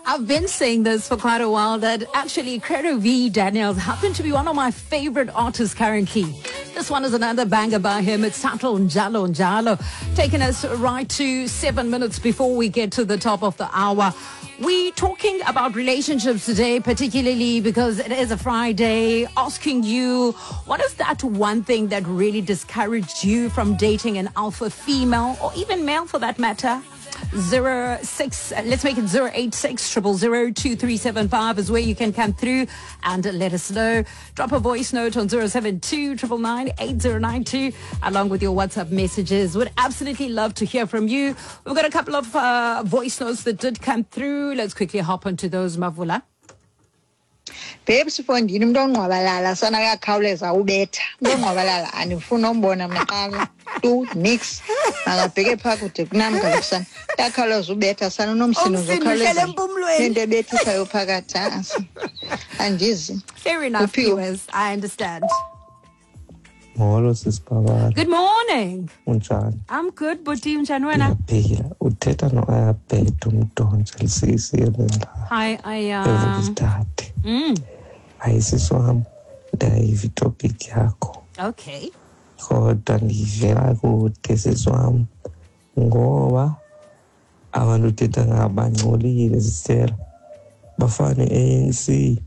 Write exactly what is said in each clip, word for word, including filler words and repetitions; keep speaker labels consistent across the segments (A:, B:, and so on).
A: I've been saying this for quite a while that actually Credo V Daniels happened to be one of my favorite artists currently. This one is another banger by him. It's titled Njalo Njalo, taking us right to seven minutes before we get to the top of the hour. We're talking about relationships today, particularly because it is a Friday, asking you, what is that one thing that really discouraged you from dating an alpha female or even male for that matter? Zero six, let's make it zero eight six triple zero two three seven five is where you can come through and let us know. Drop a voice note on zero seven two triple nine eight zero nine two along with your WhatsApp messages. Would absolutely love to hear from you. We've got a couple of uh, voice notes that did come through. Let's quickly hop onto those, Mavula.
B: Babes, mfondini umuntu ongqwabalala sana uyakhawuleza ubetha. Umuntu ongqwabalala andifuni umbona mna qala. Tu nix. Makabheke phaa kude kunam kaloku sana. Uyakhawuleza ubetha sana unomsindo uzokhawuleza. Into ebethisayo phakathi ha. Andizi.
A: Fair enough, viewers. I understand.
C: Molo sisibabala.
A: Good morning.
C: Unjani?
A: I'm good, buti, unjani wena?
C: Ndiyaphila. Uthetha no-Ayabheda umdonje lisisi ebendla.
A: Hi, Aya.
C: Evukisithathe.
A: Mm.
C: Hayi sisi wam, ndayiva itopic yakho.
A: Okay.
C: Kodwa ndiyivela kude sisi wam ngoba abantu uthetha ngabangcolile sisela. Bafana ne-A N C.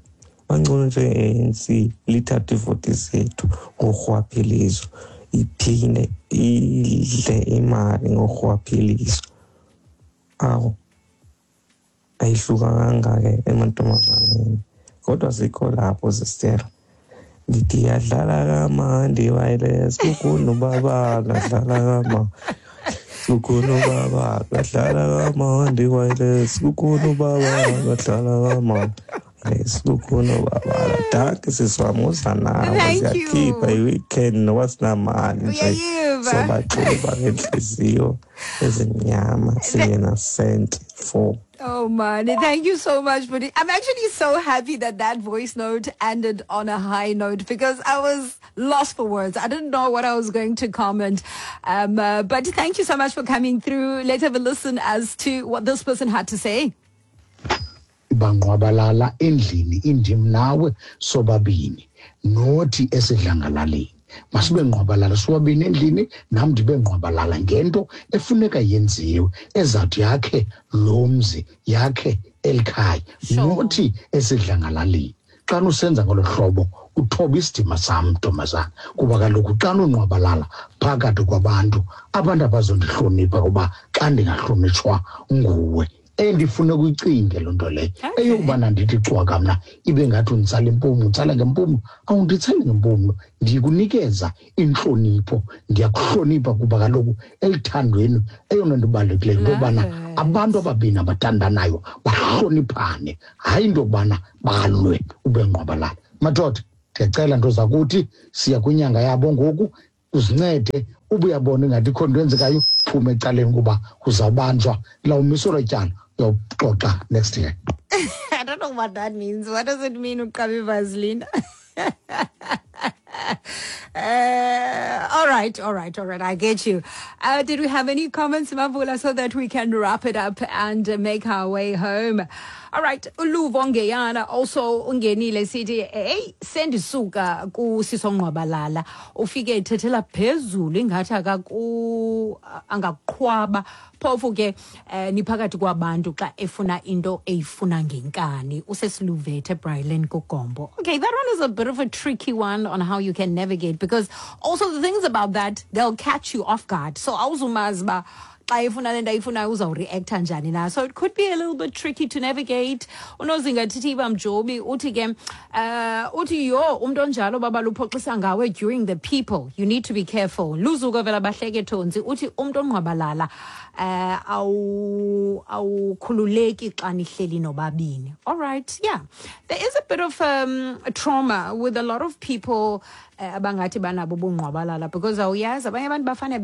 C: Bangcono nje-A N C lithatha iivoti zethu ngorhwaphilizo, iphinde idle imali ngorhwaphilizo. Awu, ayihlukanga ke emantombazaneni, kodwa sikho lapho sisela. Ndithi yadlala kamandi wireless kukhona ubaba adlala kama kukhona ubaba adlala kamandi wireless kukhona ubaba adlala kama. Yes, kukhona ubaba. Dankie sisi wam, uza nawe.
A: Thank you.
C: Siyakhipha i-weekend noba sinamali nje.
A: Uyayiva.
C: Sobaxuba ngentliziyo ezimnyama singenasenti four.
A: Oh man, thank you so much, buddy. I'm actually so happy that that voice note ended on a high note because I was lost for words. I didn't know what I was going to comment. Um, uh, but thank you so much for coming through. Let's have a listen as to what this person had to say.
D: Bangqwabalala endlini indim nawe sobabini nothi esidlangalaleni masibe ngqwabalala sobabini endlini nam ndibe ngqwabalala ngento efuneka yenziwe ezathi yakhe lo mzi yakhe elikhaya nothi esidlangalaleni. Xa usenza ngolo hlobo uthoba isidima sam ntombazana kuba kaloku xa unqwabalala phakathi kwabantu abantu abazondihlonipha kuba xa ndingahlonitshwa nguwe. Endifuna ukuyicinge loo nto leyo eyokubana ndithi cwaka mna ibe ngathi unditsala impumlo, utsala ngempumlo, awunditsali ngempumlo, ndikunikeza intlonipho, ndiyakuhlonipha kuba kaloku eluthandweni eyona nto ibalulekileyo into yobana abantu ababini abathandanayo bahloniphane, hayi into yokubana balwe ube ngqwabalala. Madoda, ndiyacela nto zakuthi siya kwinyanga yabo ngoku, uzincede ube uyabona ingathi ikhona into eyenzekayo, phume ecaleni kuba uzawubanjwa lawumiselwa ityala. Uyoxoxa next year.
A: I don't know what that means. What does it mean, uqabe Vaseline? Uh, all right, all right, all right. I get you. Uh, did we have any comments, Mavula, so that we can wrap it up and uh, make our way home? All right. Uluvo Ngeyana also ungenile sithi hey sendisuka kusisongqwabalala ufike ethethela phezulu ingathi akaku angaqhwaba phofu ke eh, niphakathi kwabantu xa efuna into eyifuna ngenkani usesiluvethe Brylan Kugombo. Okay, that one is a bit of a tricky one on how you can navigate because also the things about that they'll catch you off guard. So awuzumazi ba xa efuna le nto ayifunayo uzawureacta njani na. So it could be a little bit tricky to navigate. Unozinga Thithiba Mjobi uthi ke uh, uthi yo umuntu onjalo baba luphoxisa ngawe during the people. You need to be careful. Luzuko vela bahleke thonzi uthi umuntu ongqwabalala uh, awu awukhululeki xa nihleli nobabini. All right, yeah. There is a bit of um, trauma with a lot of people abangathi banabo bungqwabalala because awuyazi abanye abantu bafane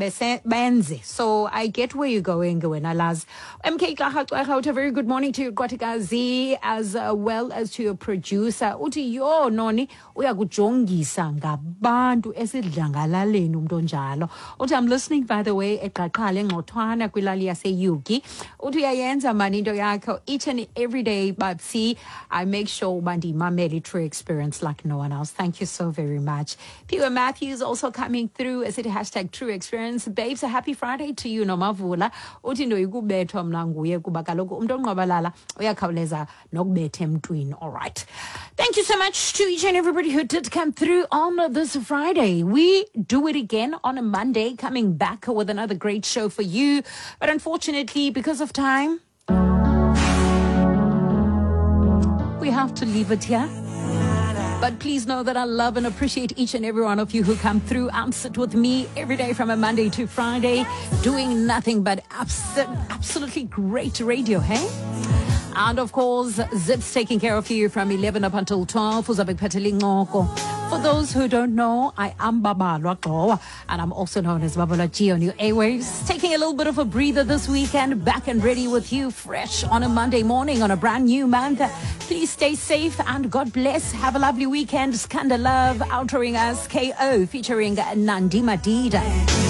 A: benze. So I get where you're going wena Laz. M K Klaha, a very good morning to you Qwathikazi as well as to your producer. Uthi yo noni uyakujongisa ngabantu esidlangalaleni umuntu onjalo. Uthi I'm listening by the way eqaqhale engxothwana kwilali yaseYugi. Uthi uyayenza mani into yakho each and every day, Babsi. I make sure uba ndiyimamele i-True Experience like no one else. Thank you so very much. Piwe Matthews also coming through as it hashtag True Experience. Babes, a happy Friday to you, Nomavula. Uthi ndoyikubethwa mna nguye kuba kaloku umntu onqwabalala uyakhawuleza nokubetha emntwini. All right. Thank you so much to each and everybody who did come through on this Friday. We do it again on a Monday, coming back with another great show for you. But unfortunately, because of time, we have to leave it here. But please know that I love and appreciate each and every one of you who come through and sit with me every day from a Monday to Friday, doing nothing but abs- absolutely great radio, hey? And of course, Zip's taking care of you from eleven up until twelve. Uzabe kuphathele incoko. For those who don't know, I am Babalwa Gxowa, and I'm also known as Babalwa G on your airwaves. Taking a little bit of a breather this weekend, back and ready with you, fresh on a Monday morning on a brand new month. Please stay safe and God bless. Have a lovely weekend. Skanda Love outroing us, K O featuring Nandi Madida.